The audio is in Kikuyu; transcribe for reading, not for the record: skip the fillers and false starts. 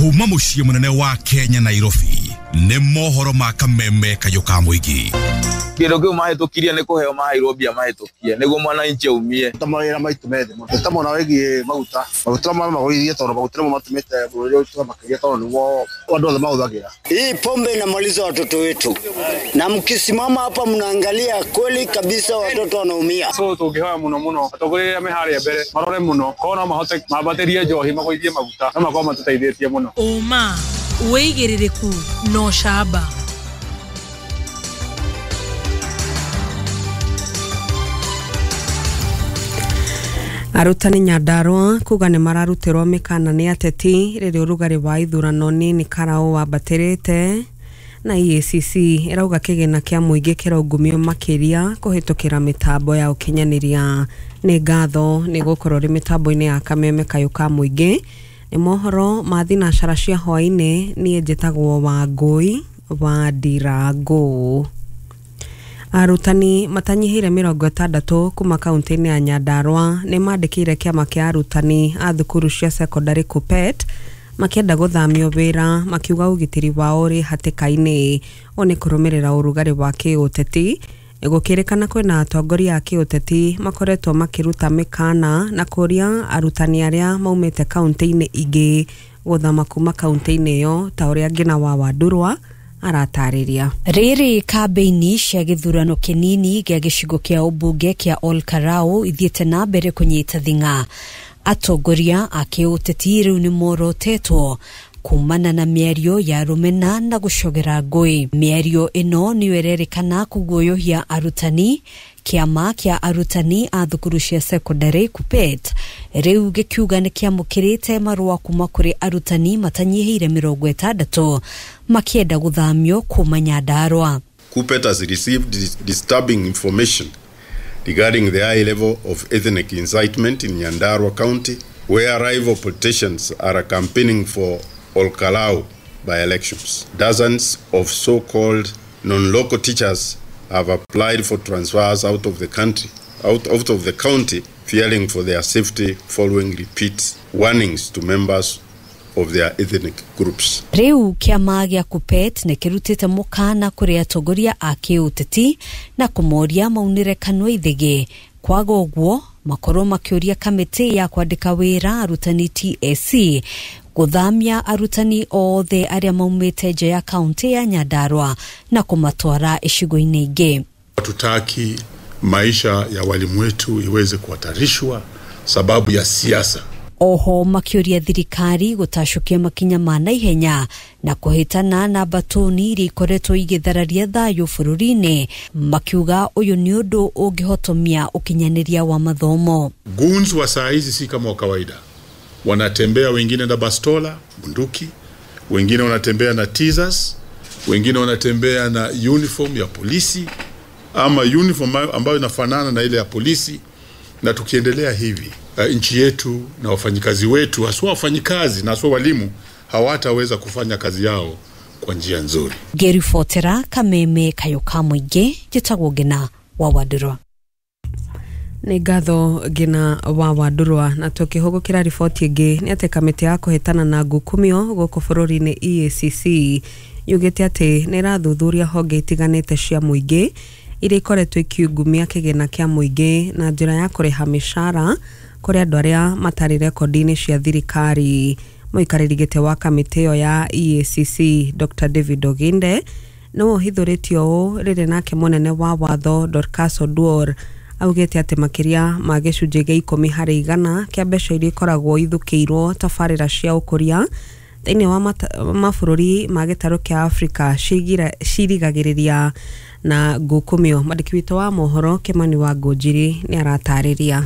Kuma muciĩ munene wa Kenya Nairobi nĩ mohoro ma kameme kayũ ka mũingĩ. Kĩndũ kĩu mahĩtũkirie nĩ kũheo maheirwo mbia mahĩtũkie nĩguo mwananchi aumie. Ta mawĩra maitũ methe mũno ta mwena wĩgiĩ maguta maguta magũithie tondũ maguta nĩmo matũmĩte bũrũri ũyũ makĩria tondũ nĩguo andũ othe mahũthagĩra. Hii pombe inamaliza watoto wetu, na mkisimama hapa mnaangalia kweli kabisa watoto wanaumia. So tũngĩhoya mũno mũno atongoria arĩa me harĩa mbere marore mũno korwo no mahote mambatĩrie njohi magũithie maguta no makorwo matũteithĩtie mũno. Ũma wĩigĩrĩrĩku na ũcamba. Arutani Nyandarua kuga nĩ mararutirwo mĩkana nĩ ateti rĩrĩa ũrugarĩ wa ithurano nini Karau wambatĩrĩte na EACC ĩrauga kĩgĩna kĩa mũingĩ kĩraungumio makĩria kũhĩtũkĩra mĩtambo ya ũkinyanĩria. Nĩ ngatho nĩ gũkorwo rĩ mĩtambo-inĩ ya kameme kayũ ka mũingĩ. Nĩ mohoro ma thinacara cia hwaĩ-inĩ. Niĩ njĩtagwo Wangũi wa Ndirango. Arutani matanyihĩire 60 kuma kaunti-inĩ ya Nyandarua nĩ mandĩkĩire kĩama kĩa arutani a thukuru cia secondary KUPPET makĩenda gũthamio wĩra makiuga ũgitĩri wao ũrĩ hatĩka-inĩ. Ũũ nĩ kũrũmĩrĩra ũrugarĩ wa kĩũteti. Gũkĩrĩkana kwĩna atongoria a kĩũteti makoretwo makĩruta mĩkana na kũria arutani arĩa maumĩte kaunti-inĩ ingĩ gũthama kuma kaunti-inĩ ĩyo ta ũrĩa Ngina wa Wandurwa aratarĩria. Rĩrĩ kambĩini cia gĩthurano kĩnini gĩa gĩcigo kĩa ũmbunge kĩa Ol Kalou ithiĩte na mbere kũnyita thing'a. Atongoria a kĩũteti rĩu nĩ morotetwo kumana na mĩario ya rũmena na gũcogera ngũĩ. Mĩario ĩno nĩyo ĩrerĩkana kũguoyohia arutani. Kĩama kĩa arutani a thukuru cia secondary KUPPET rĩu gĩkiuga nĩ kĩamũkĩrĩte marũa kuma kũrĩ arutani matanyihĩire 60 makĩenda gũthamio kuma Nyandarua. KUPPET has received disturbing information regarding the high level of ethnic incitement in Nyandarua County, where rival politicians are campaigning for Ol Kalou by elections. Dozens of so-called non-local teachers have applied for transfers out of the country, out of the county, fearing for their safety following repeat warnings to members of their ethnic groups. Rĩu kĩama gĩa KUPPET nĩ kĩrutĩte mũkana kũrĩ atongoria a kĩũteti na kũmoria maunĩre kanua ithĩgĩ kwaga ũguo makorwo makĩũria kamĩtĩ ya kwandĩka wĩra arutani TSC gũthamia arutani othe arĩa maumĩte nja ya kaunti ya Nyandarua na kũmatwara icigo-inĩ ingĩ. Hatutaki maisha ya walimu wetu iweze kuhatarishwa sababu ya siasa. Oho makĩũria thirikari gũtacũkia makinya ma naihenya na kũhĩtana na mbatũni iria ikoretwo igĩthararia thayũ bũrũri-inĩ, makiuga ũyũ nĩ ũndũ ũngĩhotomia ũkinyanĩria wa mathomo. Goons wa saa hizi si kama wa kawaida, wanatembea wengine na bastola bunduki, wengine wanatembea na teasers, wengine wanatembea na uniform ya polisi ama uniform ambayo inafanana na ile ya polisi. Na tukiendelea hivi nchi yetu na wafanyikazi wetu, haswa wafanyikazi na haswa walimu, hawataweza kufanya kazi yao kwa njia nzuri. Ngĩribotera kameme kayũ ka mũingĩ, njĩtagwo Ngina wa Wandurwa. Nĩ ngatho Ngina wa Wandurwa. Na tũkĩhũgũkĩra riboti ĩngĩ nĩ atĩ kamĩtĩ ya kũhĩtana na ngukumio gũkũ bũrũri-inĩ EACC yugĩte atĩ nĩ ĩrathuthuria honge itiganĩte cia mũingĩ iria ikoretwo ikiungumia kĩgĩna kĩa mũingĩ na njĩra ya kũrĩha mĩcara kũrĩ andũ arĩa matarĩ rekondi-inĩ cia thirikari. Mũikarĩri gĩtĩ wa kamĩtĩ ĩyo ya EACC Dr. David Oginde nĩwe ũhithũrĩtie ũũ rĩrĩ nake mũnene wa watho Dorcas Oduor augĩte atĩ makĩria ma gĩcunjĩ gĩa 10 harĩ igana kĩa mbeca iria ikoragwo ithũkĩirwo tabarĩra cia ũkũria thĩinĩ wa mabũrũri ma gĩtarũ kĩa Afrika cirigagĩrĩria na ngukumio. Mwandĩki witũ wa mohoro Kimani wa Ngũnjiri nĩ aratarĩria.